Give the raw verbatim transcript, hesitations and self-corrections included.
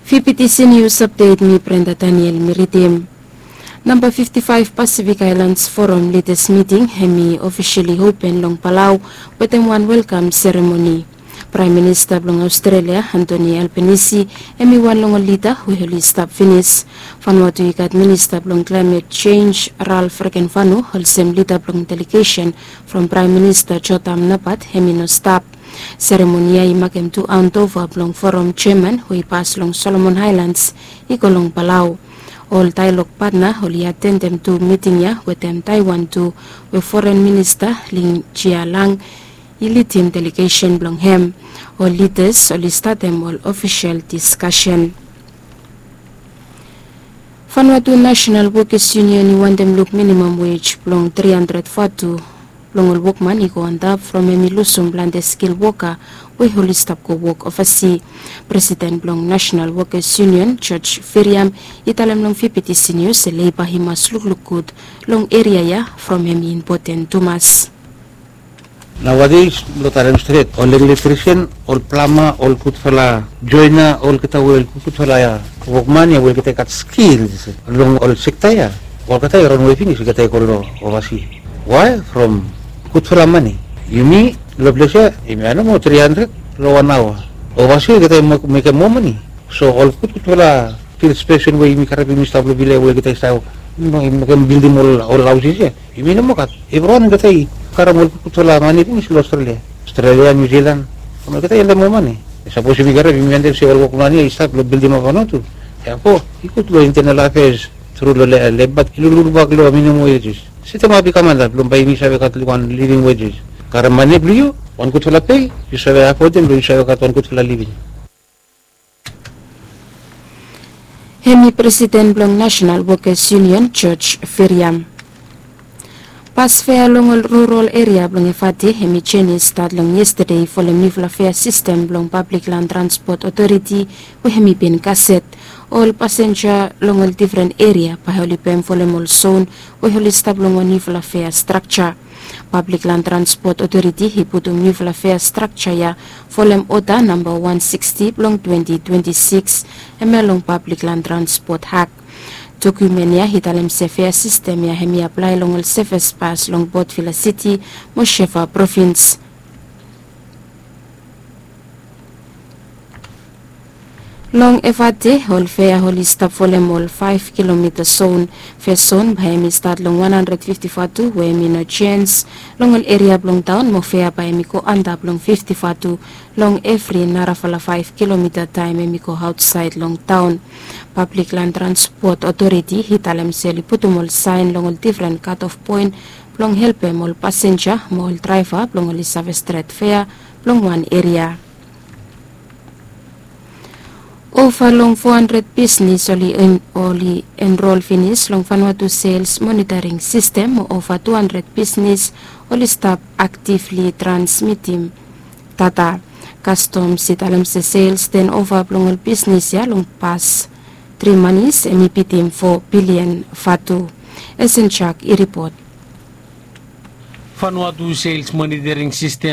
Fifty Seniors Update, mi Brenda Daniel mi ridim. Namba fifty five Pacific Islands Forum Leaders Meeting hemi officially open long Palau wetem wan welkam seremoni. Praem Minista blong Australia, Anthony Albanese, hemi wan long ol lida we oli stap finis. Vanuatu i gat Minista blong Climate Change, Ralph Rekenvanu, olsem lida blong delegesen from Praem Minista Jotham Napat, hemi no stap. Seremoni ya i makem tu handover blong Forum Chairman we i pas long Solomon Islands i go long Palau. Ol dialogue partner oli atendem tu miting ya wetem Taiwan tu, we Foren Minista Ling Chialang i lidim delegesen blong hem. Ol leaders oli statem ol ofisel diskasen. Vanuatu National Workers Union i wantem luk minimum wage blong tri handred vatu blong ol wokman i go antap from hemi lusum plante skil woka we oli stap go wok ovasi. Presiden blong National Workers Union, George Firiam, i talem long Fifty Seniors se leiba i mas lukluk gud long eria ya from hemi impoten tumas. Nowadays, long talem stret, ol electrician, ol plama, ol gudfala joina, olgeta we ol gudfala wokman ya we olgeta i gat skils long ol sekta ya, olgeta i ronwe finis, olgeta i go long ovasi. Wae? From gudfala mane. Yumi long ples ya, yumi gat nomo tri handred long wan aoa. Ovasi olgeta i mekem moa mane. So ol gudgudfala field spesen we yumi karem, yumi stap long vila we olgeta i stap mekem bildim ol haosis ya, yumi no moa gat. Evriwan olgeta i karem ol gudgudfala mane finis long Australia, Australia, New Zealand. Olgeta i wantem moa mane. Sapos yumi karem, yumi wantem se ol wokman ya i stap long bildimap Vanuatu. Therefore i gud long Internal Affairs tru long Labor i lulubak long minimum wages. Setemap i kam antap blong bae yumi save gat wan living wages. Karem mane blong yu, wan gudfala pei, yu save afodem blong yu save gat wan gudfala living. Hemi Presiden blong National Workers Union, George Firiam. Bas fea long ol rural eria blong Efate hemi jenis stat long yestade folem niufala fea sistem blong Pablik Lan Transpot Otoriti we hemi bin gaset. Ol pasenja long ol difren eria bae oli pem folem ol zon we oli stap long wan niufala fea strakja. Pablik Lan Transpot Otoriti i putum niufala fea strakja ya folem oda namba wan siksti blong twenti twenti sikis, hemia long Pablik Lan Transpot Ak. Dokumen ya i talem se fea sistem ya hemi aplae long ol seves bas long Port Vila Siti mo Shefa provins. Long Efate ol fea oli stap folem ol faef kilomita zon. Fes zon bae hemi stat long wan handred fifti vatu we hemi no jenj long ol eria blong taon, mo fea bae hemi go antap long fifti vatu long evri narafala faef kilomita taem hemi go aotsaed long taon. Pablik Lan Transpot Otoriti i talem se oli putum ol saen long ol difren kat of poen blong helpem ol pasenja mo ol draeva blong oli save stret fea blong wan eria. Ova long fo handred bisnis oli enrol finis long Vanuatu Sales Monitoring Sistem, mo ova tu handred bisnis oli stap aktivli transmitim data. Kastoms i talem se sales tenova blong ol bisnis ya long pas tri manis hemi bitim fo bilian vatu. Esen Jak i ripot. Vanuatu Sales Monitoring Sistem